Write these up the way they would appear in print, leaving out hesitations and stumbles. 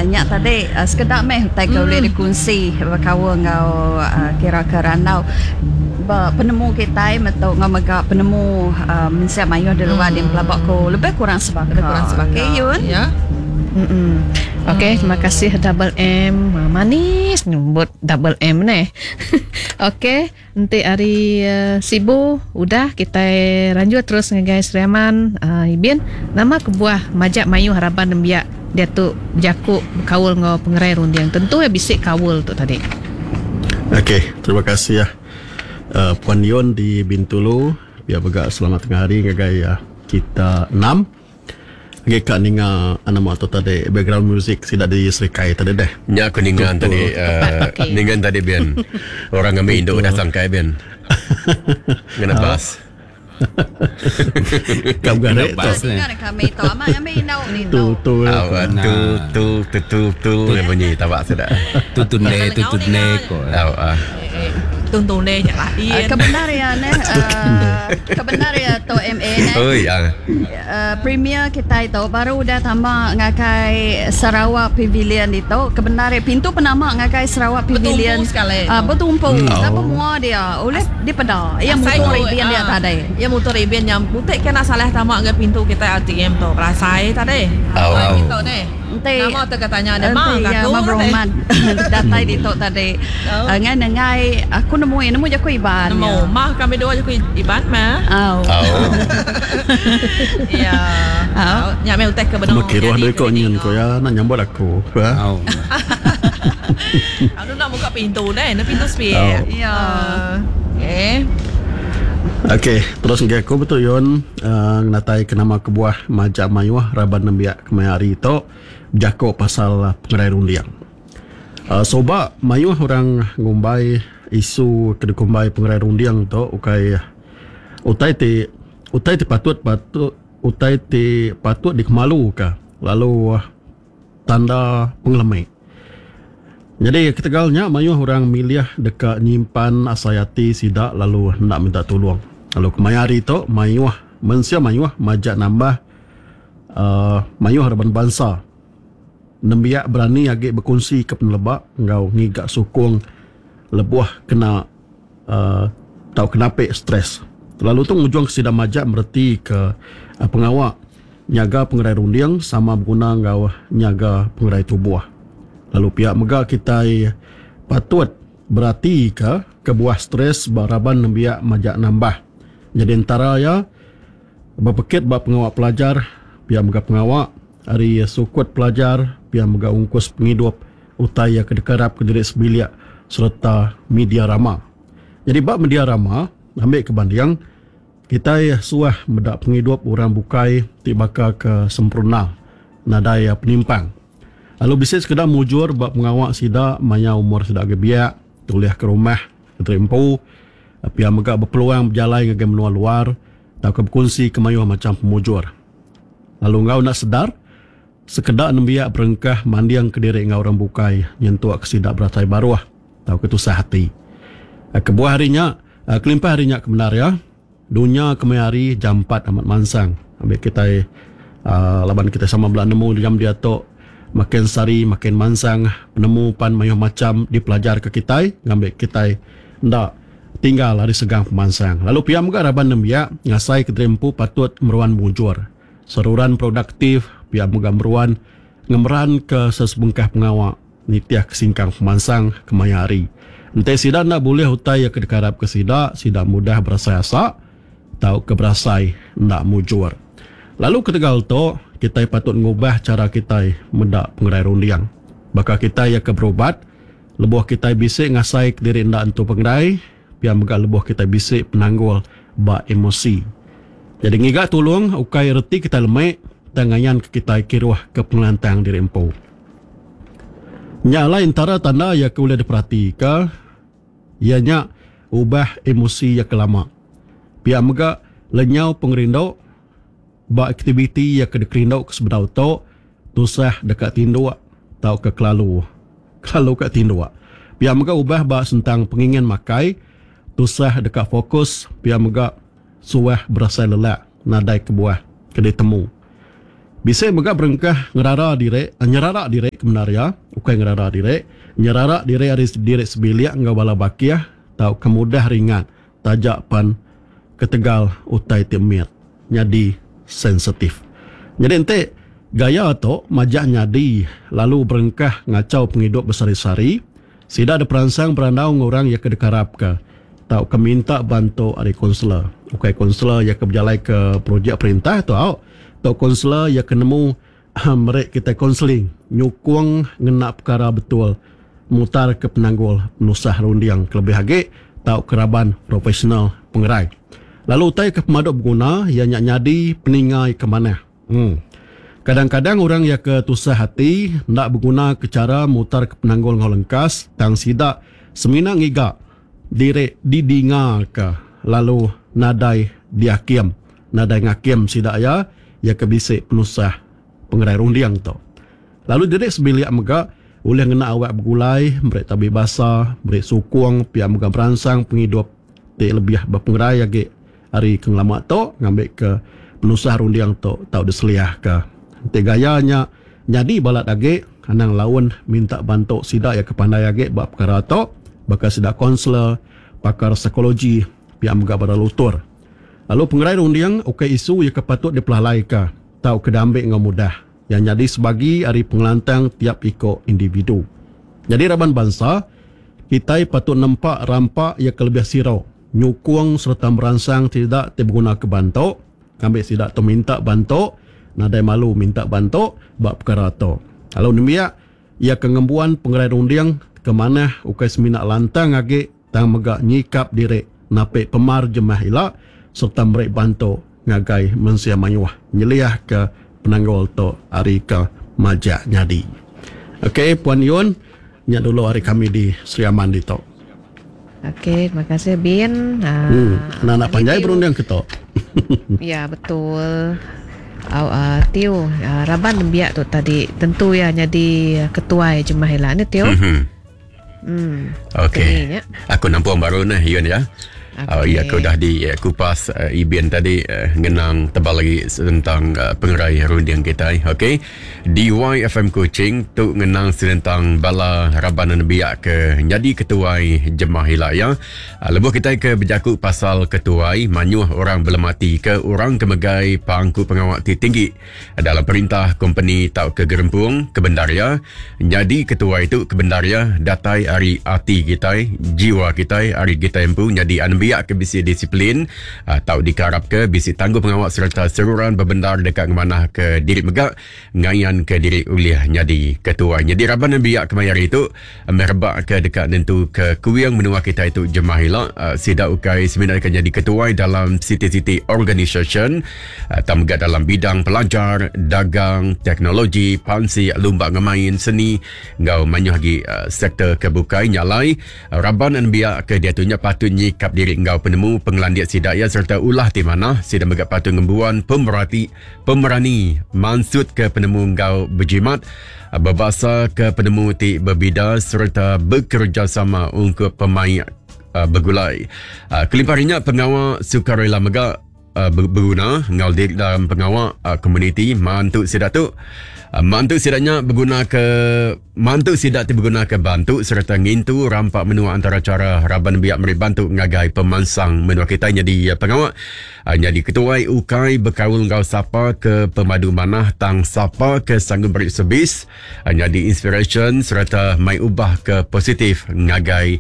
Nya tadi sekeda meh utai ke ulih dikunsi bekaul enggau kira ke randau ba penemu kitai metu enggau mega penemu mensia mayuh di luar din pelaba ku lebih kurang sebaka. Lebih kurang sebaka. Okey Yun. Ya. Okey terima kasih Double M. Manis nyebut Double M neh. Okey. Enti ari Sibu udah kitai ranjut terus ngagai Sri Aman Ibin nama kebuah majak mayuh raban nembiak diatu bejaku bekaul enggau pengerai runding tentu iya bisi kaul tu tadi. Okey terima kasih Puan Yun di Bintulu pia mega selamat tengah hari ngagai kita enam. Agi ka ninga nama tu tadi background music sida di Serikai tadi deh. Nya aku ninga tadi ninga tadi bin. Orang ngambi indu udah sangkai bin. Ngena bas. Ka begari tu. Ninga kami tu amat ngambi indu ditu. Tu tu tu tu tu tu tu bunyi taba sida. Tu tu ne tu tu ne ko. Au ah. Tuntung ne nya lain. Kebendar iya neh kebendar iya tu MA neh. Oi ah. Premier kitai tu baru udah tama ngagai Sarawak Pavilion ditu ke bendar iya pintu penama ngagai Sarawak Pavilion betumpu laban mua dia ulih dipeda iya mutung ribin dia tadi. Iya mutung ribin nya buti ke enda salah tama ngagai pintu kitai RTM tu berasai tadi. Pintu neh. Enti Nama tu ka tanya dia ma enti ka iya aku ma tadi. beruman datai ditu tadi ngai nengai aku nemu iya nemu jaku Iban Nemu iya. mah kami dua jaku Iban mah. Au. Iya. Au. Nya meh utai ke benung Temu kiruh nyadi diri ko ke nyin didinga. ko iya enda nyambut aku. Au. Anu enda muka pintu deh, enda pintu sepiak. Au. Iya. Okey. Okey, terus ngagai aku betu Yun ngenatai ke nama kebuah majak mayuh raban nembiak kemaya hari tu bejaku pasal pengerai runding. Suba mayuh orang ngumbai isu ke dikumbai pengerai runding tu ukai utai ti utai ti patut patut utai ti patut dikemaluka lalu tanda pengelemi. Nyadi ketegal nya mayuh orang milih deka nyimpan asai ati sida lalu enda minta tulung. Lalu kemaya hari tu mayuh mensia mayuh majak nambah uhh mayuh raban bansa nembiak berani agi bekunsi ke peneleba enggau ngiga sukung lebuh kena uhh tauka napi stress. Lalu tu ngujung ke sida majak mereti ke pengawa Nyaga pengerai runding sama beguna enggau nyaga pengerai tubuh. Lalu pia mega kitai patut beratika kebuah stres ba raban nembiak majak nambah. Nyadi entara iya bepekit ba pengawa pelajar, pia mega pengawa ari sukut pelajar, pia mega ungkus pengidup utai iya ke dikerapka diri sebilik sereta media rama. Nyadi ba media rama, ambika banding, Kitai suah meda pengidup orang bukai ti baka ke sempurna, nadai penimpang. Lalu bisi sekeda mujur ba pengawa sida maya umur sida agi biak, tulihka rumah diri empu, pia mega bepeluang bejalai ngagai menua luar tauka bekunsika mayuh macham pemujur. Lalu enggau enda sedar, sekeda nembiak berengkah mandingka diri enggau orang bukai nyentukka sida berasai baruh tauka tusah ati. Kebuah ari nya, Kelimpah ari nya kebendar iya, dunya kemaya hari jampat amat mansang. Ambi kitai uhh laban kitai sama bela nemu jam diatu makin sehari makin mansang penemu pan mayuh macham dipelajarka kitai ngambi kitai enda tinggal ari segang pemansang. Lalu pia mega raban nembiak ngasaika diri empu patut meruan mujur, seruran produktif pia mega meruan ngemeranka sesebengkah pengawa. Nitihka singkang pemansang kemaya hari, enti sida enda bulih utai iya ke dikarapka sida, sida mudah berasai asa tauka berasai enda mujur. Lalu ketegal tu, kitai patut ngubah chara kitai meda pengerai runding. Baka kitai iya ke berubat, lebuh kitai bisi ngasaika diri enda entu pengerai, pia mega lebuh kitai bisi penanggul ba emosi. Nyadi ngiga tulung ukai reti kitai lemi, tang ngayanka kitai kiruhka pengelantang diri empu. Nya alai entara tanda iya ke ulih diperatika iya nya ubah emosi iya ke lama. Pia mega lenyau pengerindu ba aktiviti iya ke dikerindu ke sebedau tu tusah deka tinduk tauka kelalu kelalu ka tinduk. Pia mega ubah ba sentang pengingin makai tusah deka fokus pia mega suah berasai lelak nadai kebuah ke ditemu. Bisi mega berengkah ngerara diri nyerara diri. ke bendar iya, ukai ngerara diri, nyerara diri ari diri sebilik enggau bala bakih tauka mudah ringat taja pan ketegal utai ti mit nyadi sensitif. Nyadi enti gaya tu majak nyadi lalu berengkah ngachau pengidup besehari-sehari, sida diperansang berandau enggau orang iya ke dikarapka tauka minta bantu ari konselor. Ukai konselor iya ke bejalaika projek perintah tu au, tu konselor iya ke nemu meri kitai konseling nyukung ngena pekara betul mutarka penanggul penusah runding kelebih agi tauka raban profesional pengerai. Lalu utai ke pemadu beguna iya nya nyadi peninga iya ke manah. Em. Kadang-kadang orang iya ke tusah ati enda begunaka chara mutarka penanggul enggau lengkas tang sida semina ngiga diri didingaka lalu nadai diakim. Nadai ngakim sida iya, iya ke bisi penusah pengerai runding tu. Lalu diri sebilik mega ulih ngena awak begulai, meri tabi basa, meri sukung pia mega meransang pengidup ti lebih bepengerai agi ari ke ngelama tu ngambika penusah runding tu tau diseliahka. Enti gaya nya nyadi balat agi, anang laun minta bantu sida iya ke pandai agi ba pekara tu baka sida konselor, pakar psikologi pia mega bala lutur. Lalu pengerai runding ukai isu iya ke patut dipelalaika tauka diambi enggau mudah. Iya nyadi sebagi ari pengelantang tiap iko individu. Nyadi raban bansa, kitai patut nempa rampa iya ke lebih siro, nyukung sereta meransang sida ti begunaka bantu, ngambi sida tu minta bantu, nadai malu minta bantu ba pekara tu. Lalu nembiak, iya ke ngembuan pengerai runding ke manah ukai semina lantang agi tang mega nyikap diri napi pemar jemah ila sereta meri bantu ngagai mensia mayuh nyeliahka penanggul tu ari ke majak nyadi. Ok Puan Yun, nya dulu ari kami di Sri Aman ditu. Ok, terima kasih Bin. Hmm, anak-anak panjai berunding ke tu. Ya, betul. Au uh, Tio, uh, raban nembiak tu tadi tentu ya nyadi ketuai jemah ila ne Tio. Mm-hmm. Hmm. Okey. Aku nampung baru neh Yun ya. Okay. Oh, iya aku dah di kupas Ibin tadi ngenang tebal lagi tentang pengerai runding kitai. Okey. DYFM Kuching tu ngenang senentang bala raban nembiak ke nyadi ketuai jemah ila ya. Lebuh kitai ke bejaku pasal ketuai, mayuh orang belemati ke orang ke megai pangku pengawa ti tinggi Dalam perintah, kompeni tauka gerempung, kebendar iya, nyadi ketuai tu kebendar iya datai ari ati kitai, jiwa kitai, ari kitai empu nyadi anembiak ke bisi disiplin, tau dikarapka bisi tanggung pengawa sereta seruran bebendar deka ngemanahka diri mega ngayanka diri ulih nyadi ketuai. Nyadi raban anembiak kemaya hari tu meh rebak ke deka nentuka kuing menua kitai tu jemah ila. Sida ukai semina deka nyadi ketuai dalam siti-siti organisasyen tang mega dalam bidang pelajar, dagang, teknologi, pansik, lumba enggau main, seni enggau mayuh agi sektor ke bukai. Nya alai, raban nembiak ke diatu nya patut nyikap diri enggau penemu pengelandik sida iya sereta ulah ti manah. Sida mega patut ngembuan pemerati pemerani mansutka penemu enggau bejimat, bebasaka penemu ti bebida sereta bekerejasama ungkup pemaik begulai. Kelimpah ari nya, pengawa sukarela mega beguna enggau diri dalam pengawa komuniti mantu sida tu. Mantu sida nya begunaka mantu sida ti begunaka bantu sereta ngintu rampa menua antara chara raban nembiak meri bantu ngagai pemansang menua kitai nyadi pengawa Nyadi ketuai ukai bekaul enggau sapa ke pemadu manah tang sapa ke sanggup meri servis nyadi inspirasyen sereta mai ubah ke positif ngagai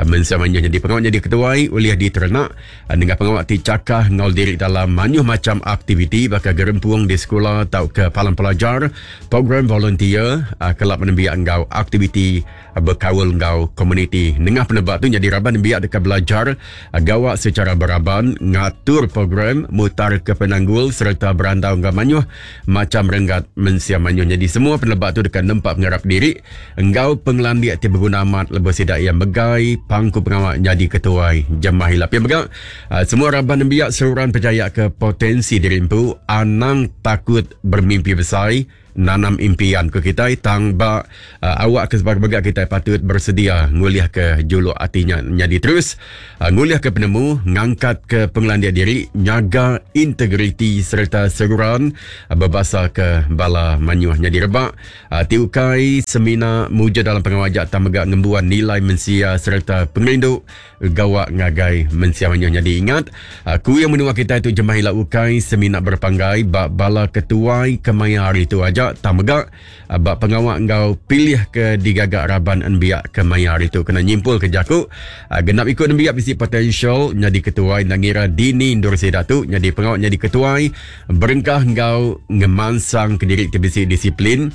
mensia mayuh. Nyadi pengawa nyadi ketuai ulih diterenak nengah pengawa ti chakah enggau diri dalam mayuh macham aktiviti baka gerempung di sekula tauka palan pelajar, program volunteer, kelab nembiak enggau aktiviti bekaul enggau komuniti. Nengah peneba tu nyadi raban nembiak deka belajar gawa sechara beraban, ngatur program, mutarka penanggul sereta berandau enggau mayuh macham renggat mensia mayuh. Nyadi semua peneleba tu deka nempa pengarap diri enggau pengelandik ti beguna amat lebuh sida iya megai pangku pengawa nyadi ketuai jemah ila. Pia mega, semua raban nembiak seruran pechaya ke potensi diri empu, anang takut bermimpi besai. nanam impian ku kitai tang ba uh, awak ke sebagai mega kitai patut bersedia ngulih ke juluk ati nya nyadi terus uh, ngulih ke penemu ngangkat ke pengelandik diri nyaga integriti sereta seruran uh, bebasa ke bala manyuh nyadi rebak uh, ti ukai semina mujur dalam pengawa aja tang mega ngembuan nilai mensia sereta pengerindu gawa ngagai mensia mayuh nyadi ingat kuing menua kitai tu jemah ila ukai semina berpanggai ba bala ketuai kemaya hari tu aja tang mega ba pengawa enggau pilih ke digaga raban nembiak kemaya hari tu kena nyimpul ke jaku genap iku nembiak bisi potensial nyadi ketuai enda ngira dini endur sida tu nyadi pengawa nyadi ketuai berengkah enggau ngemansang kediri ti bisi disiplin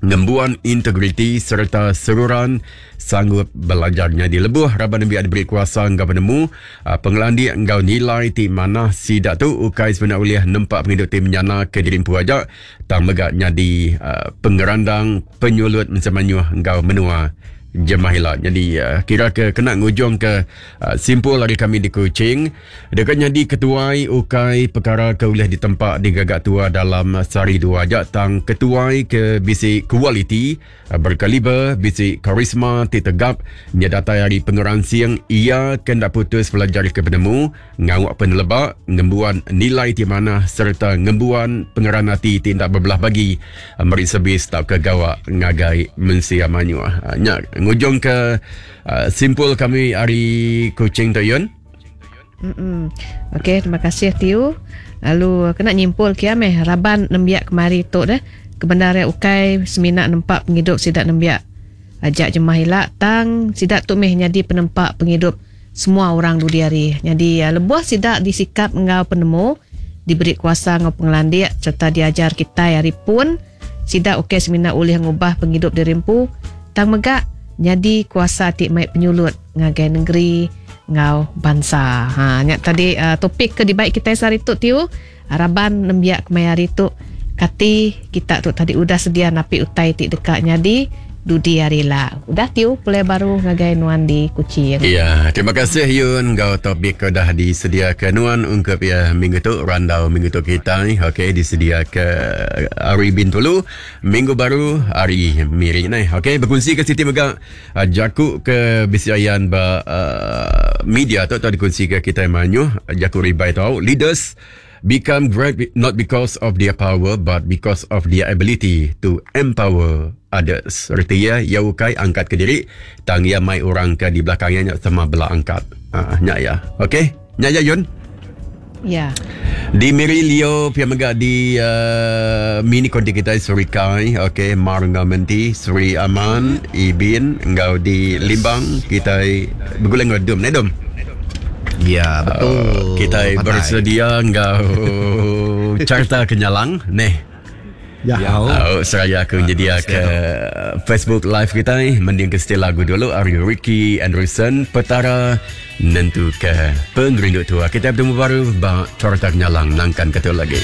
ngembuan integriti sereta seruran sanggup belajar nyadi lebuh raban nembiak diberi kuasa enggau penemu, pengelandik enggau nilai ti manah sida tu ukai semina ulih nempa pengidup ti menyana ke diri empu aja tang mega nyadi pengerandang penyulut mensia mayuh enggau menua jemah ila. Nyadi kira ke kena ngujung ke simpul ari kami di Kuching. Deka nyadi ketuai ukai pekara ke ulih ditempa digaga tua dalam sehari dua aja tang ketuai ke bisi kualiti, berkaliber, bisi karisma ti tegap nya datai ari pengeransing iya ke enda putus belajarka penemu, ngauk peneleba, ngembuan nilai ti manah sereta ngembuan pengeran ati ti enda bebelah bagi meri servis tauka gawa ngagai mensia mayuh. Nya ngujungka simpul kami ari Kuching tu Yun. Mm-mm. Okey, terima kasih Tiu. Lalu kena nyimpul kia meh raban nembiak kemari tu deh. Kebendar iya ukai semina nempa pengidup sida nembiak aja jemah ila tang sida tu meh nyadi penempa pengidup semua orang dudi hari. Nyadi lebuh sida disikap enggau penemu, diberi kuasa enggau pengelandik sereta diajar kitai ari pun, sida ukai semina ulih ngubah pengidup diri empu tang mega nyadi kuasa ti mai penyulut ngagai nengeri enggau bansa. Ha nya tadi uh, topik ke dibai kitai sehari tu tiu raban nembiak kemaya hari tu kati kita tu tadi udah sedia napi utai ti deka nyadi dudi hari ila. Udah tiu pulai baru ngagai nuan di Kuching. Ya, terima kasih Yun enggau topik ke udah disediaka nuan ungkup ya minggu tu randau minggu tu kitai. Okey disediaka ari Bintulu minggu baru ari Miri neh. Okey bekunsi ke siti mega Jaku ke bisi ayan ba media tu tau dikunsika kitai mayuh jaku ribai tau leaders become great not because of their power but because of their ability to empower others. Reti iya, iya ukai angkat kediri tang iya mai orang ke di belakang iya nya sama bela angkat. Nya iya. Okey. Nya ya Yun. Ya. Di Miri Leo pia mega di uh, mini konti kita Suri Kai, okey Mar enggau Menti, Suri Aman, Ibin enggau di Limbang kita begulai enggau Dum, ne Dum. Ya, betul. Uh, kita bersedia enggau carta kenyalang neh. Ya. Oh, seraya aku nyedia ke Facebook Live kita ni, mending ke setel lagu dulu ari Ricky Anderson Petara nentu ke pengerindu tua. Kita bertemu baru ba Carta Kenyalang nangkan ke tu lagi.